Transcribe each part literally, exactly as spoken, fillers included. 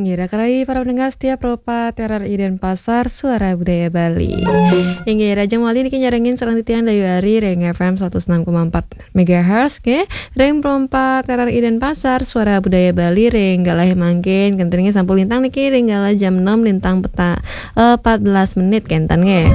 Ira karai para pendengar setia Pro empat R R I Denpasar, Suara Budaya Bali. Inggih, rahajeng malih niki nyarengin sareng titiang Dayu Ari ring F M satus enam koma empat megahertz, nggih. Ring Pro empat R R I Denpasar, Suara Budaya Bali, ring galah mangkin, kenten nggih sampun lintang niki ring galah jam enam lintang peta-, eh, empat belas menit, kenten nggih.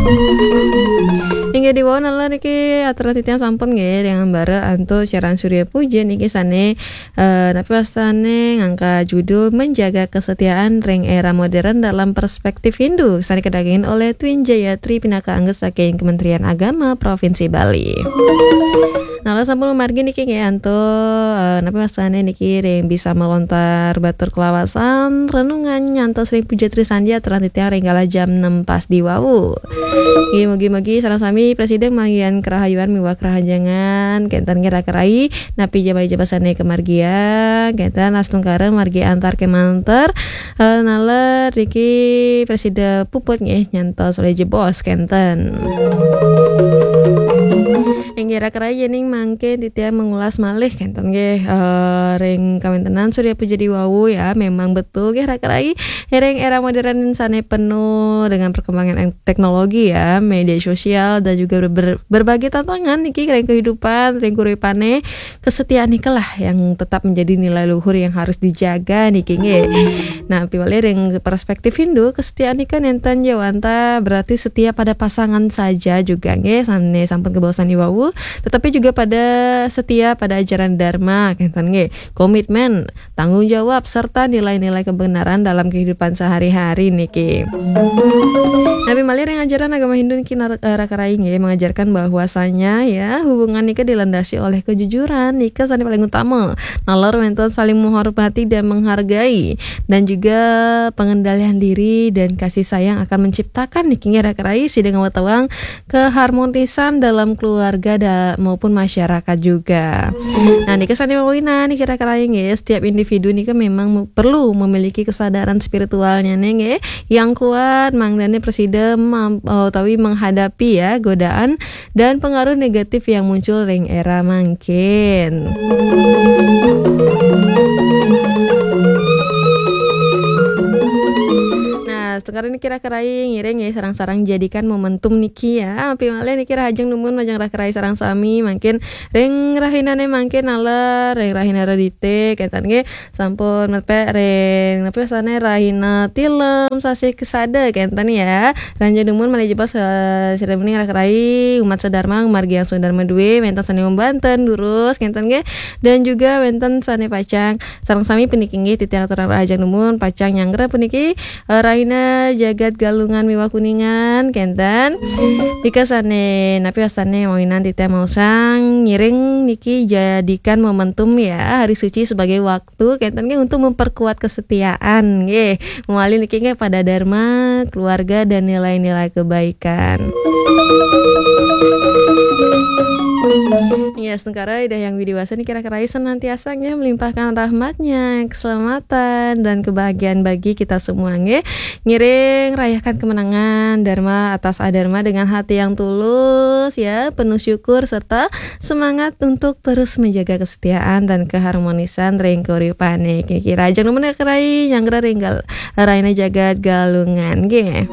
Inggih, diwau nalar niki aturang titiang sampun nggih, ring ambara antuk siaran Surya Puja niki sane Eh, napi wastane ngangkat judul Menjaga Kesetiaan ring Era Modern dalam Perspektif Hindu, sane kadagingin oleh Twin Jayatri pinaka angga saking Kementerian Agama Provinsi Bali. Nah, lalu sampun margi niki nggih antuk, eh, napi wastane niki ring bisa melontar batur kelawasan, renungan nyantos ring puja Trisandya aturang titiang ring galah jam enam pas diwau. Nggih, mugi-mugi sareng sami prasida manggihan kerahayuan miwah kerahajengan, kenten nggih raka rai, napi ja malih jebosane kamargiang, kenten astungkara margi antar kemanten, eh, nalar niki prasida puput nggih nyantos olih jebos, kenten. Inggih raka rai, yening mangkin titiang mengulas malih, kenten nggih, eh, ring kawentenan Surya Puja diwau ya, memang betul nggih raka rai, ring era modern sane penuh dengan perkembangan teknologi ya, media sosial dan juga ber-, ber-, berbagai tantangan niki ring kehidupan, ring uripane, kesetiaan nika lah yang tetap menjadi nilai luhur yang harus dijaga niki nggih. Nah, piwali ring perspektif Hindu, kesetiaan nika nenten ja wantah berarti setia pada pasangan saja juga nggih, sane sampun kabaosan iwau, tetapi juga pada setia pada ajaran Dharma, kenten nggih. Komitmen, tanggung jawab, serta nilai-nilai kebenaran dalam kehidupan sehari-hari niki. Napi malih ring ajaran agama Hindu niki nar-, eh, raka rai nggih mengajarkan bahwasanya ya hubungan nika dilandasi oleh kejujuran nika sane paling utama. Nalar wenten saling menghormati dan menghargai dan juga pengendalian diri dan kasih sayang akan menciptakan niki nggih raka rai sida ngawatawang keharmonisan dalam keluarga da-, maupun masyarakat juga. Nah, nika sane mawinan niki raka rai nggih, setiap individu nika memang me-, perlu memiliki kesadaran spiritualnya nggih yang kuat, mangdane prasida mam-, eh, utawi menghadapi ya godaan dan pengaruh negatif yang muncul ring era mangkin. Nah, sekarang niki raka rai ngiring ya, sareng-sareng jadikan momentum niki ya. Api malih niki rahajeng numun majeng raka rai sareng sami, mangkin ring rahinane mangkin nalar, ring rahina Redite, kenten nggih, sampun mepek ring, napi wastane, rahina Tilem, sasih Kesada, kenten ya. Rahajeng numun malih jebos, eh, sira bening raka rai, umat sedharma, margi yang sedharma due, wenten sane membanten, durus, kenten nggih. Dan juga wenten sane pacang sareng sami puniki nggih titiang aturang rahajeng numun, pacang nyanggra puniki, eh, rahina jagat Galungan miwah Kuningan, kenten. Nika sane, napi wastane mawinan titiang maosang ngiring niki jadikan momentum ya, hari suci sebagai waktu, kenten nggih, untuk memperkuat kesetiaan nggih. Mawali niki nggih pada dharma, keluarga, dan nilai-nilai kebaikan. Ya, astungkara Ida Hyang Widi Wasa niki raka rai senantiasa nggih melimpahkan rahmatnya, keselamatan, dan kebahagiaan bagi kita semua nggih. Ngiring rayakan kemenangan dharma atas adharma dengan hati yang tulus ya, penuh syukur serta semangat untuk terus menjaga kesetiaan dan keharmonisan ring kauripane. Niki rahajeng numun raka rai nyanggra ring gal-, rahina jagat Galungan nggih.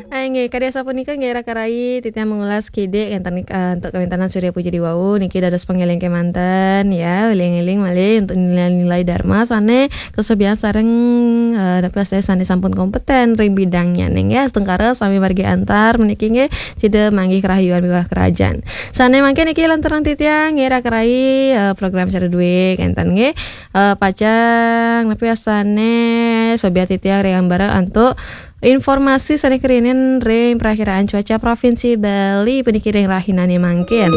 Ah, nggih, kadi asapunika nggih raka rai, titiang mengulas kidik kenten, eh, antuk kawéntenan Surya Puja Diwau niki dados pangeling kemanten ya, eling-eling malih untuk nilai-nilai dharma sane kasobian sareng, eh, napi wastane sane sampun kompeten ring bidangnya nggih. Astungkara sami margi antar puniki nggih sida manggih kerahayuan miwah kerahajengan. Sane mangkin niki lanturang titiang nggih raka rai, eh, program Sira Due kenten nggih. Eh, pacang napi wastane sobian titiang ring ambara antuk informasi sane karinin ring Perakiraan Cuaca Provinsi Bali puniki ring rahinane mangkin.